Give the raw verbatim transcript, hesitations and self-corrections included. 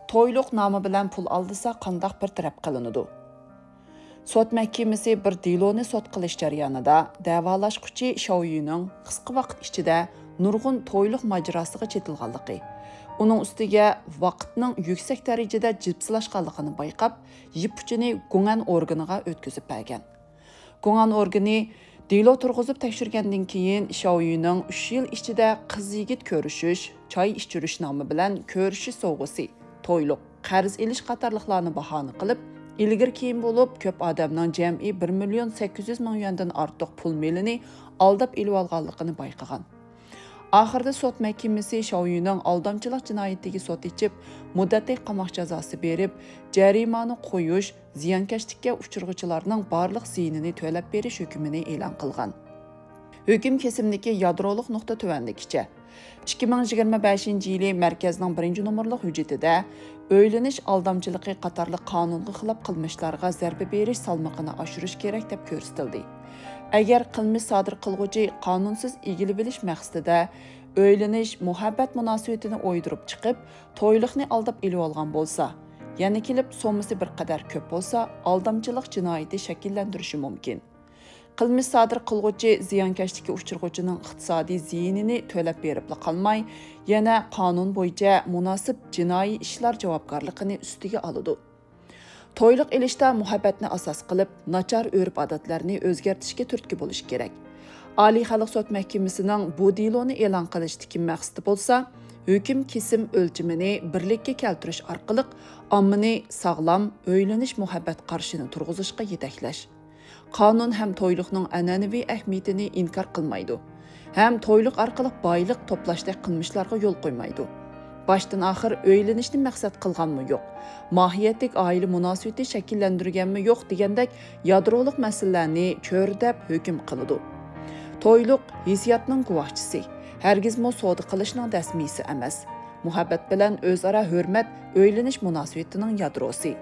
تويلۇق نامى بىلەن پۇل ئالدىسا قانداق بىر تەرەپ قىلىنىدۇ؟ سوت مەھكىمىسى بىر دېلونى سوت قىلىش جەريانىدا دەۋالاشقۇچى شاۋيۈنىڭ قىسقا ۋاقىت ئىچىدە نۇرغۇن تويلۇق ماجىراسىغا چېتىلغانلىقى، ئۇنىڭ ئۈستىگە ۋاقىتنىڭ يۈكسەك دەرىجىدە جىپسىلاشقانلىقىنى بايقاپ، يىپ ئۇچىنى گۇڭئەن ئورگىنىغا ئۆتكۈزۈپ بەرگەن. گۇڭئەن ئورگىنى دېلو تۇرغۇزۇپ تەكشۈرگەندىن كېيىن، شاۋيۈنىڭ ئۈچ يىل ئىچىدە قىز-يىگىت كۆرۈشۈش، چاي ئىچۈرۈش نامى بىلەن كۆرۈشۈش سوۋغىسى، تويلۇق، قەرز ئېلىش قاتارلىقلارنى باھانە قىلىپ، ئىلگىرى-كېيىن بولۇپ كۆپ ئادەمنىڭ جەمئىي بىر مىليون سەككىز يۈز مىڭ يۈەندىن ئارتۇق پۇل مېلىنى ئالداپ ئېلىۋالغانلىقىنى بايقىغان. ئاخىرىدا سوت مەھكىمىسى شاۋيۈنىڭ ئالدامچىلىق جىنايىتىگە سوت ئېچىپ، مۇددەتلىك قاماق جازاسى بېرىپ، جەرىمانە قويۇش، زىيانكەشلىككە ئۇچرىغۇچىلارنىڭ بارلىق زىيىنىنى تۆلەپ بېرىش ھۆكمىنى ئېلان قىلغان. ھۆكۈم كېسىمدىكى يادرولۇق نۇقتا تۆۋەندىكىچە. ئىككى مىڭ يىگىرمە بەشىنچى يىلى مەركەزنىڭ بىرىنچى نومۇرلۇق ھۆججىتىدە ئۆيلىنىش ئالدامچىلىقى قاتارلىق قانۇنغا خىلاپ قىلمىشلارغا زەربە بېرىش سالمىقىنى ئاشۇرۇش كېرەك دەپ كۆرسىتىلدى. ئەگەر قىلمىش سادىر قىلغۇچى قانۇنسىز ئىگىلىۋېلىش مەقسىتىدە ئۆيلىنىش مۇھەببەت مۇناسىۋىتىنى ئويدۇرۇپ چىقىپ، تويلۇقنى ئالداپ ئېلىۋالغان بولسا، يەنە كېلىپ سوممىسى بىر قەدەر كۆپ بولسا، ئالدامچىلىق جىنايىتى شەكىللەندۈرۈشى مۇمكىن. قىلمىش سادىر قىلغۇچى زىيانكەشلىككە ئۇچرىغۇچىنىڭ ئىقتىسادىي زىيىنىنى تۆلەپ بېرىپلا قالماي، يەنە قانۇن بويىچە مۇناسىپ جىنايى ئىشلار جاۋابكارلىقىنى ئۈستىگە ئالىدۇ. تويلۇق ئېلىشتا مۇھەببەتنى ئاساس قىلىپ، ناچار ئۆرپ-ئادەتلەرنى ئۆزگەرتىشكە تۈرتكە بولۇش كېرەك. ئالىي خەلق سوت مەھكىمىسىنىڭ بۇ دېلونى ئېلان قىلىشتىكى مەقسىتى بولسا، ھۆكۈم كېسىم ئۆلچىمىنى بىرلىككە كەلتۈرۈش ئارقىلىق ئاممىنى ساغلام ئۆيلىنىش مۇھەببەت قارىشىنى تۇرغۇزۇشقا يېتەكلەش. قانۇن ھەم تويلۇقنىڭ ئەنئەنىۋى ئەھمىيىتىنى ئىنكار قىلمايدۇ، ھەم تويلۇق ئارقىلىق بايلىق توپلاشتەك قىلمىشلارغا يول قويمايدۇ. باشتىن-ئاخىر ئۆيلىنىشنى مەقسەت قىلغانمۇ يوق، ماھىيەتلىك ئائىلە مۇناسىۋىتى شەكىللەندۈرگەنمۇ يوق دېگەندەك يادرولۇق مەسىلىلەرنى چۆرىدەپ ھۆكۈم قىلىدۇ. تويلۇق ھېسسىياتنىڭ گۇۋاھچىسى، ھەرگىزمۇ سودا قىلىشنىڭ دەسمىيىسى ئەمەس. مۇھەببەت بىلەن ئۆزئارا ھۆرمەت ئۆيلىنىش مۇناسىۋىتىنىڭ يادروسى.